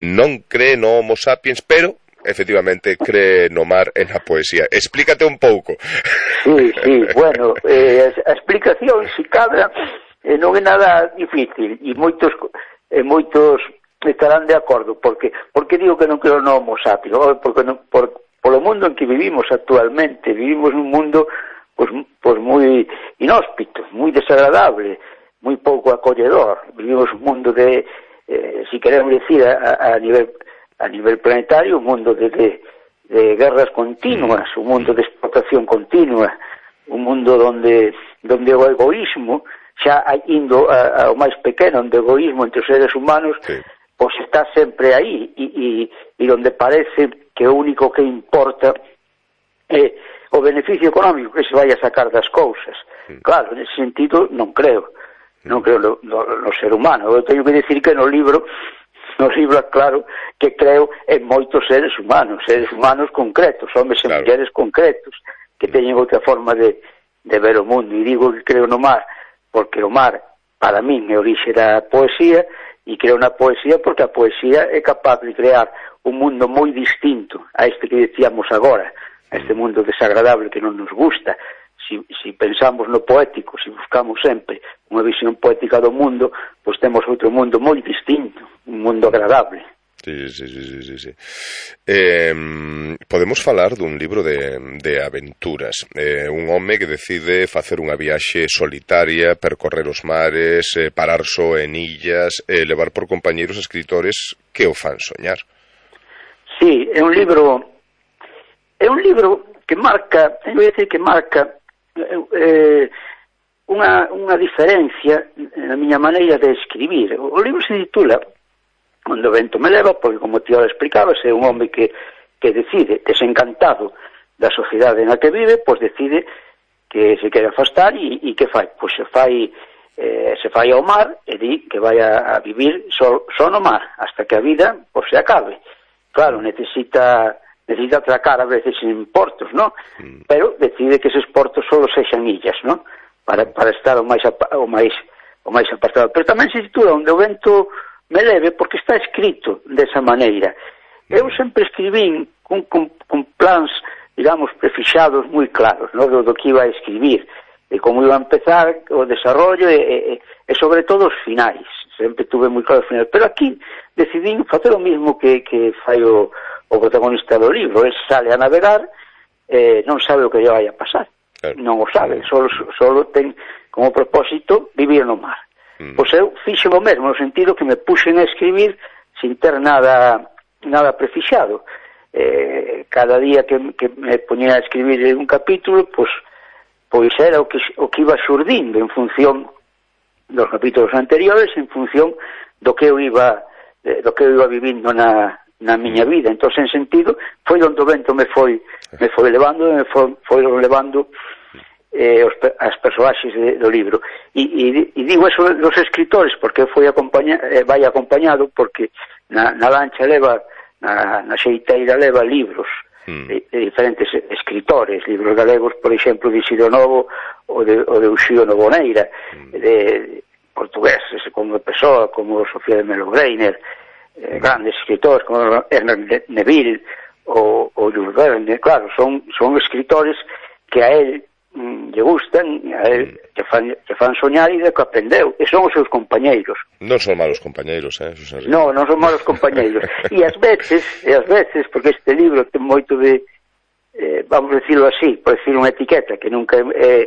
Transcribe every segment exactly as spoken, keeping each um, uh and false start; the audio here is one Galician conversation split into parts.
non cree no Homo sapiens, pero efectivamente cree no mar e na poesía. Explícate un pouco. Sí, sí, bueno, eh, a explicación, se cadra, eh, non é nada difícil, e moitos, eh, moitos estarán de acordo, porque porque digo que non creo no Homo sapiens, porque non, por, polo mundo en que vivimos actualmente, vivimos nun mundo pues, pues moi inhóspito, moi desagradable, moi pouco acolledor, vivimos un mundo de, eh, si queremos decir, a, a nivel a nivel planetario, un mundo de, de, de guerras continuas, un mundo de explotación continua, un mundo donde donde o egoísmo, xa indo ao máis pequeno, onde o egoísmo entre os seres humanos, sí, pois está sempre aí, e, e, e donde parece que o único que importa é o beneficio económico que se vai a sacar das cousas. Sí. Claro, nesse sentido non creo, non creo no, no, no ser humano. Eu teño que decir que no libro no libro, claro, que creo en moitos seres humanos, seres humanos concretos, homens claro, e mulleres concretos, que teñen outra forma de, de ver o mundo. E digo que creo no mar, porque o mar, para min, é orixe da poesía, e creo na poesía porque a poesía é capaz de crear un mundo moi distinto a este que decíamos agora, a este mundo desagradable que non nos gusta. Si, si pensamos no poético, si buscamos sempre unha visión poética do mundo, pois temos outro mundo moi distinto, un mundo agradable. Sí, sí, sí, sí, sí, sí. Eh, podemos falar dun libro de, de aventuras, eh, un home que decide facer unha viaxe solitaria, percorrer os mares, eh, parar só en illas, eh, levar por compañeiros escritores que o fan soñar. Sí, é un libro é un libro que marca, eu vou dicir que marca eh, unha, unha diferencia na miña maneira de escribir. O libro se titula Onde o vento me leva, porque, como ti ahora explicabas, é un home que, que decide, desencantado da sociedade na que vive, pois decide que se quere afastar e, e que fai? Pois se fai eh, se fai ao mar e di que vai a, a vivir só, só no mar, hasta que a vida pois se acabe. Claro, necesita necesita atracar a veces en portos, ¿no? Mm. Pero decide que esos portos solo sexan illas, ¿no? Para, para estar o máis, o máis o máis apartado. Pero tamén se titula Onde o vento me leve, porque está escrito desa maneira. Eu sempre escribín con, con, con plans, digamos, prefixados moi claros, ¿no? do, do que iba a escribir, de como iba a empezar o desarrollo e, e, e sobre todo os finais. Sempre tuve moi claro os finais. Pero aquí decidín facer o mismo que, que fai o, o protagonista do libro. El sale a navegar, eh, non sabe o que lle vai a pasar. Claro. Non o sabe, solo, solo ten como propósito vivir no mar. Mm. Pois eu fixe o mesmo, no sentido que me puxen a escribir sin ter nada nada prefixado. Eh, cada día que, que me ponía a escribir un capítulo, pois, pois era o que, o que iba xurdindo en función dos capítulos anteriores, en función do que eu iba do que eu iba vivindo na, na miña vida. Entón, en sentido, foi onde o vento me foi me foi levando, me foi, foi levando eh, os, as personaxes de, do libro. E, e, e digo eso dos escritores, porque foi acompaña, eh, vai acompañado, porque na, na lancha leva, na, na xeiteira leva libros mm. de, de diferentes escritores, libros galegos, por exemplo, de Isidro Novo ou de, ou de Uxío Novoneira, mm. de portugueses como Pessoa, como Sofía de Melo Greiner, eh, grandes escritores como Ernest Neville ou, ou Jules Verne. Claro, son, son escritores que a él mm, lle gustan, a él que fan, que fan soñar e de que aprendeu, e son os seus compañeiros. Non son malos compañeiros, eh? Non, non son malos compañeiros. E ás veces, e ás veces, porque este libro ten moito de, eh, vamos a decirlo así, por decir unha etiqueta que nunca é, eh,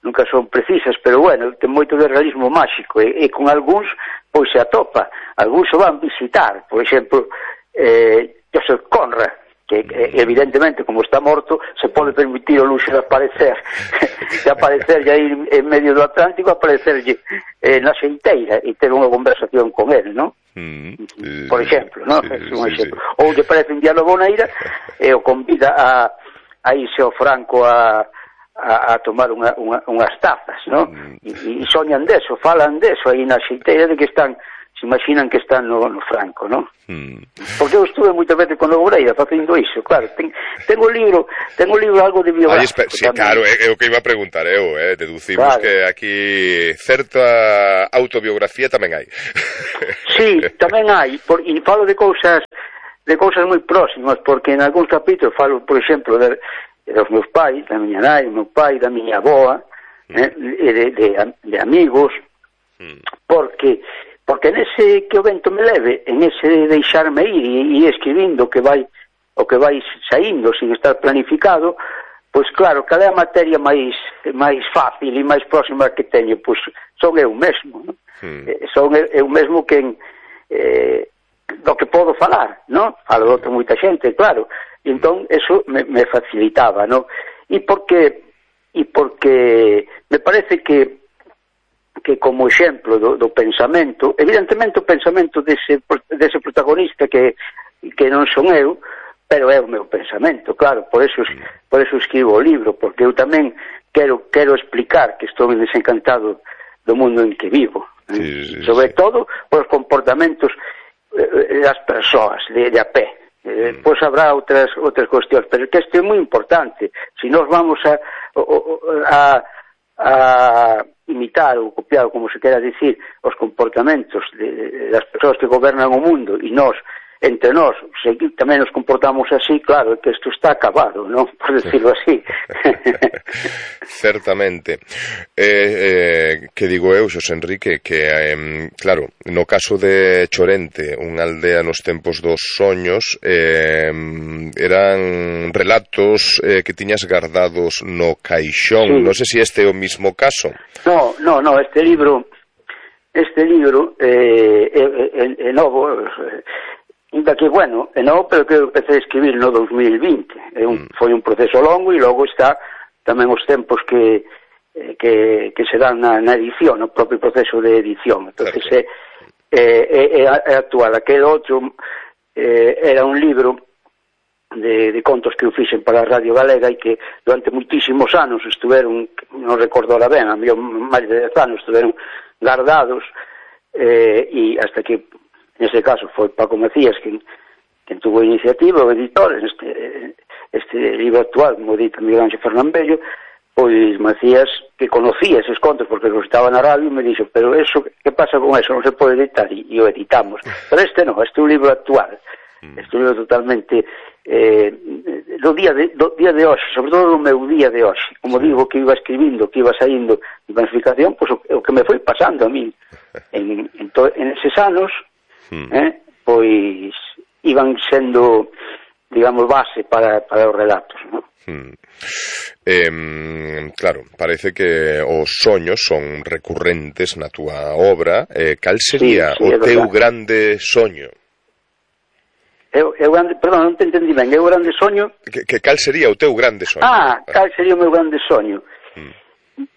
nunca son precisas, pero bueno, ten moito de realismo máxico, e, e con algúns, pois se atopa, algúns se van visitar, por exemplo, eh, Joseph Conrad, que evidentemente, como está morto, se pode permitir o luxo de aparecer de aparecer aí en medio do Atlántico, aparecerlle eh, na xeiteira e ter unha conversación con él, non? Mm, sí, por exemplo, non? Sí, es un sí, exemplo. Sí. Ou lle parece un diálogo neira e o convida a, a irse ao Franco a, a, a tomar unha, unha, unhas tazas, non? Mm. E, e soñan deso, falan deso aí na xeiteira, de que están se imaginan que están no, no Franco, non? Mm. Porque eu estuve moitas veces con Obreira facendo iso, claro, ten, tengo libro, tengo libro algo de biográfico. Aí, sí, claro, é, é o que iba a preguntar eu, eh, deducimos claro. Que aquí certa autobiografía tamén hai. Sí, tamén hai, por, e falo de cousas de cousas moi próximas, porque en algúns capítulos falo, por exemplo, de, dos meus pais, da miña nai, do meu pai, da miña avoa, mm. eh, de, de, de amigos, mm. porque porque nese que o vento me leve, en ese deixarme ir e, e escribindo o que vai o que vai saindo sin estar planificado, pois claro, cal é a materia máis máis fácil e máis próxima que teño, pois son eu mesmo, non? Mm. Eh, son eu, eu mesmo quen eh, do que podo falar, non? Falo de outra moita xente, claro. E entón, eso me, me facilitaba, non? E porque e porque me parece que que como exemplo do, do pensamento, evidentemente o pensamento dese, dese protagonista que, que non son eu, pero é o meu pensamento, claro, por eso, por eso escribo o libro, porque eu tamén quero, quero explicar que estou desencantado do mundo en que vivo, sí, sí, sobre sí. todo por os comportamentos eh, das persoas de, de a pé. Eh, mm. Pois habrá outras outras cuestións, pero que isto é moi importante. Se nós vamos a, a, a imitar ou copiar, como se quera dicir, os comportamentos de, de, das persoas que gobernan o mundo, e nós, entre nós, se tamén nos comportamos así, claro, que isto está acabado, non? Por decirlo así. Certamente. Eh, eh, que digo eu, Xosé Enrique, que, eh, claro, no caso de Chorente, unha aldea nos tempos dos soños, eh, eran relatos eh, que tiñas guardados no caixón. Sí. Non sei se este é o mismo caso. No, no, no, este libro, este libro eh, é, é, é novo, eh, ainda que, bueno, é novo, pero que eu empecé a escribir no dos mil vinte. É un, mm. Foi un proceso longo e logo está tamén os tempos que que, que se dan na, na edición, no propio proceso de edición. Entonces, é, é, é, é actual. Aquel outro eh, era un libro de, de contos que eu fixen para a Radio Galega e que durante moitísimos anos estuveron, non recordo ahora ben, a mí máis de dez anos estuveron guardados eh, e hasta que nese caso foi Paco Macías quen, quen tuvo a iniciativa, o editor, este, este libro actual, como dito Miguel Ángel Fernambello, pois Macías, que conocía eses contos porque los estaba na radio, me dixo, pero eso, que pasa con eso? Non se pode editar, e, e o editamos. Pero este non, este é un libro actual, este é un libro totalmente eh, do día de, do día de hoxe, sobre todo do meu día de hoxe. Como digo, que iba escribindo, que iba saindo de planificación, pois o, o que me foi pasando a mí en, en, to, en eses anos, Hmm. Eh, pois iban sendo, digamos, base para, para os relatos, non? Hmm. Eh, claro, parece que os soños son recurrentes na túa obra. Eh, cal sería sí, sí, o teu grande soño? Eu, eu grande, perdón, non te entendí ben. Eu grande soño? Que, que cal sería o teu grande soño? Ah, cal sería o meu grande soño? Hmm.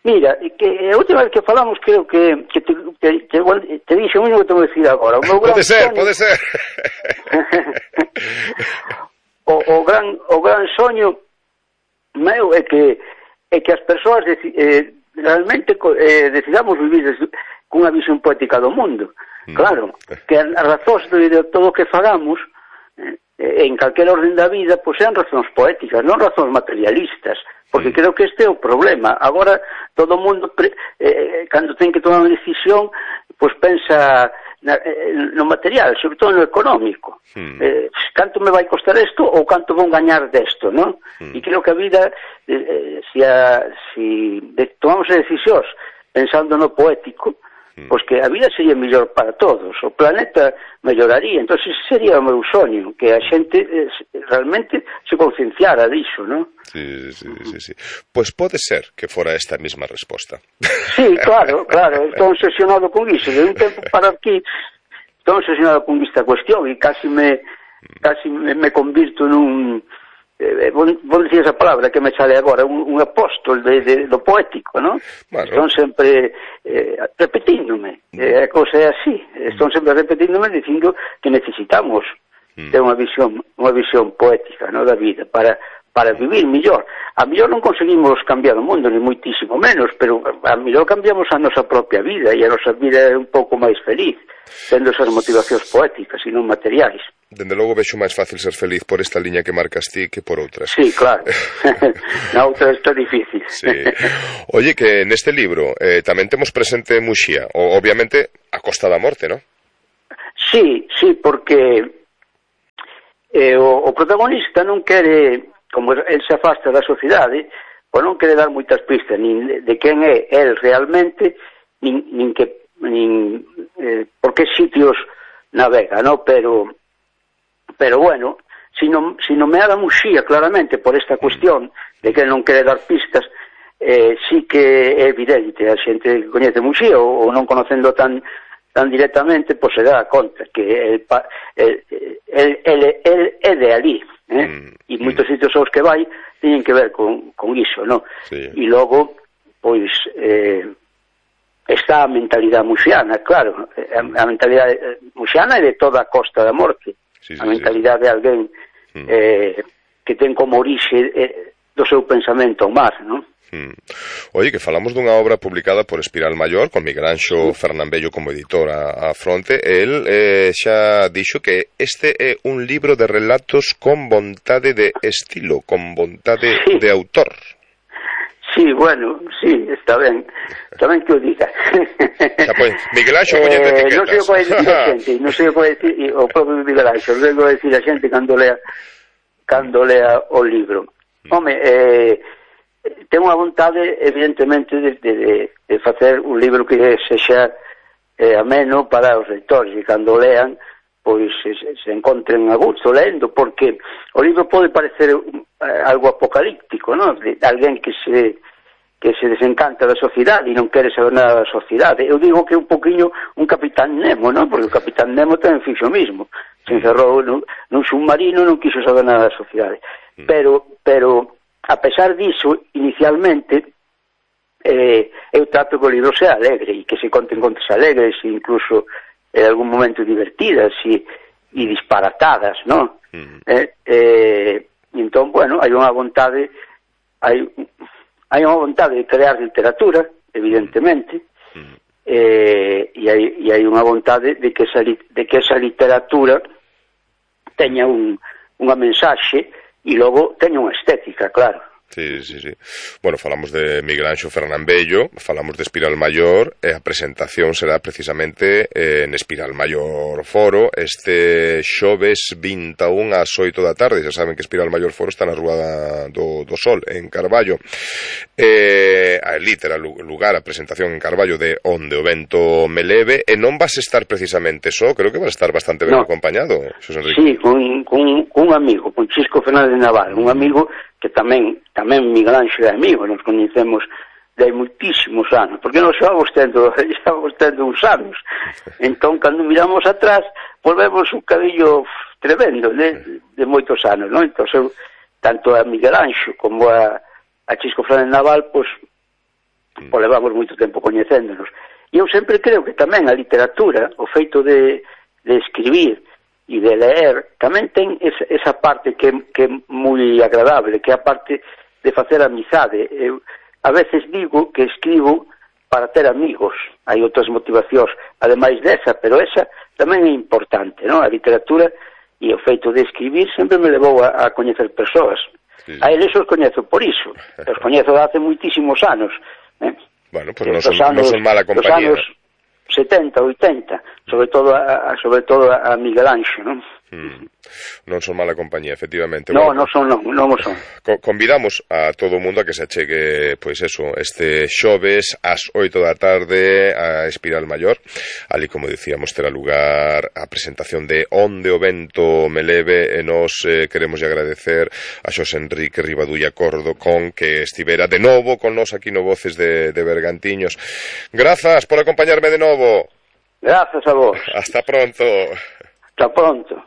Mira, que a última vez que falamos creo que, que te, te, te, te dixo o mismo que te vou decir agora. O meu pode ser, soño... pode ser. o, o, gran, o gran soño meu é que é que as persoas deci, eh, realmente eh, decidamos vivir cunha visión poética do mundo. Mm. Claro, que as razóns de, de todo o que fagamos eh, en calquer orden da vida, pois sean razóns poéticas, non razóns materialistas. Porque creo que este é o problema. Agora, todo o mundo, eh, cando ten que tomar unha decisión, pois pensa na, eh, no material, sobre todo no económico. Hmm. Eh, canto me vai costar isto ou canto vou gañar desto, non? Hmm. E creo que a vida, eh, se, a, se de, tomamos as decisións pensando no poético, pois que a vida sería mellor para todos, o planeta melloraría. Entón, ese sería o meu soño, que a xente eh, realmente se concienciara disso, non? Sí, sí, sí, sí. Pois pode ser que fora esta mesma resposta. Sí, claro, claro, estou obsesionado con iso. De un tempo para aquí estou obsesionado con esta cuestión e casi me casi me, me convirto nun eh, vou, vou dicir esa palabra que me sale agora, un, un apóstol de, de, do poético, non? Bueno. Estón sempre eh, repetíndome, eh, a cosa é así, estón sempre repetíndome dicindo que necesitamos mm. ter unha visión unha visión poética, non, da vida, para para vivir millor. A mellor non conseguimos cambiar o mundo, ni moitísimo menos, pero a mellor cambiamos a nosa propia vida, e a nosa vida é un pouco máis feliz, tendo esas motivacións poéticas e non materiais. Dende logo vexo máis fácil ser feliz por esta liña que marcas ti que por outras. Sí, claro. Na outra está difícil. Sí. Oye, que neste libro eh, tamén temos presente Muxía, o, obviamente a Costa da Morte, non? Sí, sí, porque eh, o, o protagonista non quere, como el se afasta da sociedade, pois non quere dar moitas pistas nin de, de quen é el realmente, nin, nin que nin eh, por que sitios navega, no? Pero pero bueno, si non si nomeara Muxía claramente por esta cuestión de que non quere dar pistas, eh, sí que é evidente, a xente que coñece Muxía ou, ou non conocendo tan tan directamente, pois se dá conta que el, el, el, el, el é de ali, eh? Mm, e moitos mm. sitios aos que vai teñen que ver con, con iso, no? Sí. E logo, pois, eh, está a mentalidade muxiana, claro, a, a mentalidade muxiana é de toda a Costa da Morte, sí, sí, a mentalidade sí. de alguén mm. eh, que ten como orixe eh, do seu pensamento o mar, non? Hmm. Oye, que falamos dunha obra publicada por Espiral Maior con Miguel Anxo Fernambello como editor a, a fronte. El eh, xa dixo que este é un libro de relatos con vontade de estilo, con vontade sí. de autor. Sí, bueno, sí, está ben. Está ben que o diga. Xa, pues, Miguel Anxo coñece eh, etiquetas. Non sei o que vai dicir a xente, non sei o que vai dicir o propio Miguel Anxo, non sei o que vai dicir a xente cando lea, cando lea o libro. Home, eh, ten unha vontade, evidentemente, de, de, de facer un libro que sexa eh, ameno para os lectores, e cando lean, pois se, se encontren a gusto lendo, porque o libro pode parecer eh, algo apocalíptico, non? De alguén que se que se desencanta da sociedade e non quere saber nada da sociedade. Eu digo que é un poquinho un Capitán Nemo, non? Porque o Capitán Nemo tamén fixo o mismo. Se encerrou nun, nun submarino, non quiso saber nada da sociedade. Pero, pero a pesar diso, inicialmente, eh, eu trato que o libro sea alegre e que se conten contas alegres e incluso en algún momento divertidas e, e disparatadas, non? Mm. Eh, eh, entón, bueno, hai unha vontade hai, hai unha vontade de crear literatura, evidentemente, mm. eh, e, hai, e hai unha vontade de que esa, de que esa literatura teña un, unha mensaxe e logo teña unha estética, claro. Sí, sí, sí. Bueno, falamos de Miguel Anxo Fernambello, falamos de Espiral Maior, e a presentación será precisamente eh, en Espiral Maior Foro, este xoves vinte e un ás oito da tarde. Xa saben que Espiral Maior Foro está na Rúa do, do Sol, en Carballo. Eh, ali terá lugar a presentación en Carballo de Onde o Vento Me Leve, e non vas estar precisamente só, creo que vas estar bastante ben no. acompañado, Xosé Enrique. Sí, con, con, con un amigo, con Chisco Fernández Naval, un amigo que tamén tamén Miguel Anxo é amigo, nos coñecemos de moitísimos anos, porque nos xávamos tendo, xávamos tendo uns anos. Entón, cando miramos atrás, volvemos un cadillo tremendo de, de moitos anos, non? Entón, eu, tanto a Miguel Anxo como a, a Chisco Fernández Naval, pois, pois levamos moito tempo coñecéndonos. E eu sempre creo que tamén a literatura, o feito de, de escribir e de leer, tamén ten esa, esa parte que, que é moi agradable, que é a parte de facer amizade. Eu a veces digo que escribo para ter amigos, hai outras motivacións ademais desa, pero esa tamén é importante, non? A literatura e o feito de escribir sempre me levou a, a coñecer persoas. Sí. A eles os coñezo por iso, os coñezo de hace moitísimos anos. Eh? Bueno, pues non son, anos, non son mala compañía. Los anos setenta, oitenta, sobre todo a, sobre todo a Miguel Anxo, non? Hmm. Non son mala compañía, efectivamente. No, bueno, non son, non, non son. Co convidamos a todo o mundo a que se achegue, pois eso, este xoves ás oito da tarde a Espiral Maior. Ali, como dicíamos, terá lugar a presentación de Onde o Vento Me Leve, e nos eh, queremos agradecer a Xosé Enrique Rivadulla Cordocón, que estivera de novo con nos aquí no Voces de, de Bergantiños. Grazas por acompañarme de novo. Grazas a vos. Hasta pronto. Hasta pronto.